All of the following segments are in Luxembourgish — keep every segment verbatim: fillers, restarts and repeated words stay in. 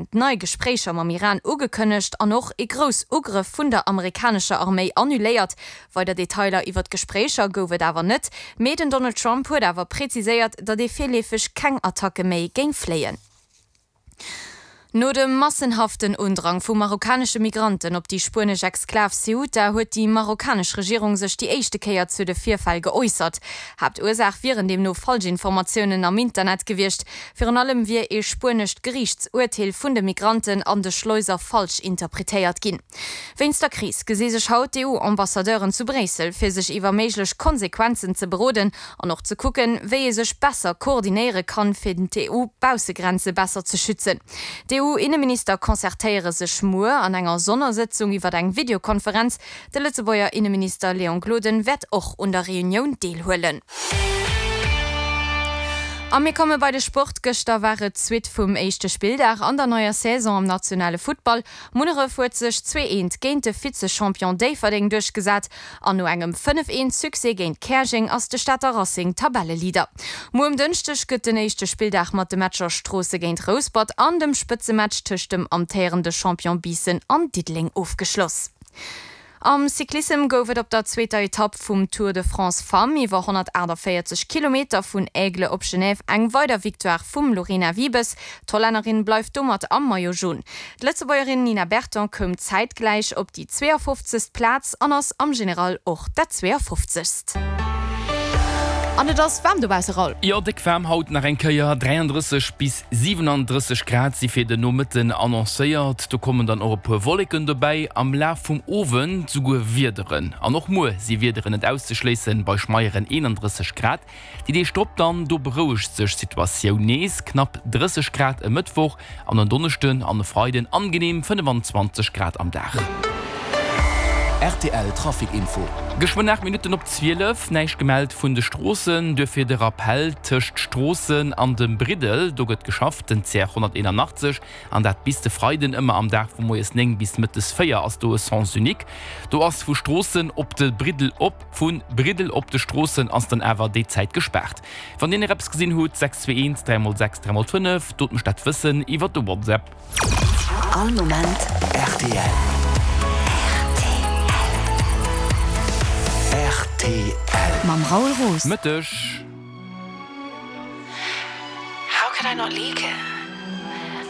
President nei Gespréicher mam Iran ugekënnegt an och e grouss Ugrëff vun der amerikanescher Arméi annuléiert. Weider Detailer iwwer d'Gespréicher gouf et awer net, mee den Donald Trump huet awer präziséiert, datt ee virleefeg keng Attacke méi géing fléien. No dem massenhaften Undrang vu marokkanesche Migranten op déi spuenesch Exklav Ceuta huet déi marokkanesch Regierung sech déi éischte Kéier zu de Virfäll geäussert. Haaptursaach wieren deemno Falschinformatiounen am Internet gewiescht. Virun allem wier ee spuenescht Geriichtsurteel vun de Migranten an de Schleuser falsch interpretéiert ginn. Wéinst der Kris gesi sech haut d'EU-Ambassadeuren zu Bréissel, fir sech iwwer méiglech Konsequenzen ze beroden an och ze kucken, wéi ee sech besser koordinéiere kann, fir d'EU-Baussegrenze besser ze schützen. D'EU-Inneminister concertéiere sech muer an enger Sonnersëtzung iwwer eng Videokonferenz. De Lëtzebuerger Inneminister Léon Gloden wäert och un der Reunioun deelhuelen. A mir komme bei de Sport. Gëschter war et d'Suite vum éischte Spilldag an der neier Saison am nationale Futtball. Munneref huet sech zwee eent géint de Vize-Champion Déifferdeng duerchgesat an no engem fënnef eent Succès géint Käerjeng ass de Stater Racing Tabelleleader. Muer um Dënschdeg gëtt den éischte Spilldag mat de Matcher Stroosse géint Rouspert an dem Spëtzematch tëscht dem amtéierende Champion Biissen an Diddeleng ofgeschloss. Am Cyclissem gouf et op der zweeter Etapp vum Tour de France Femmes iwwer honnertaachtavéierzeg Kilometer vun Aigle op Genève eng weider Victoire vum Lorena Wiebes. D'Hollännerin bleift domat am Maillot Jaune. D'Lëtzebuergerin Nina Berton koum zäitgläich op déi zweeafofzegst Plaz an ass am General och dat zweeafofzegst. An et ass waarm dobausse, Raoul. Jo, déck waarm haut nach eng Kéier, dräiandrësseg bis siwenandrësseg Grad si fir den Nomëtten annoncéiert. Do kommen dann och e puer Wolleken dobäi, am Laf vum Owend souguer Wiederen. An och muer si Wiederen net auszeschléissen, bei schmeieren eenandrësseg Grad. Déi Deeg drop dann, do berouegt sech d'Situatioun nees, knapp drësseg Grad e Mëttwoch an en Donneschden an e Freiden angeneem fënnefenzwanzeg Grad am Dag. Rtl Trafic Info. Geschwënn aacht Minutten op zwielef, näischt gemellt vun de Stroossen, duerfir de Rappell, Tëscht Stroossen an dem Briddel, do gëtt geschafft, den C R honnerteenanachtzeg, an dat bis de Freiden, ëmmer am Dag vu moies néng bis mëttes véier ass do e Sens unique. Do ass vu Stroossen op de Briddel op, vu Briddel op de Stroossen ass dann awer déi Zäit gespaart. Wann dir nach eppes gesinn hutt, sechs zwee eent, dräi mol sechs, dräi mol fënnef, dot mech dat wëssen iwwer de WhatsApp. All Moment rtl. Rtl. Mam Raoul Roos. Mëtteg. How could I not leak it?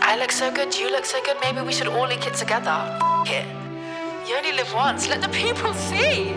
I look so good, you look so good, maybe we should all leak it together. F it. You only live once, let the people see!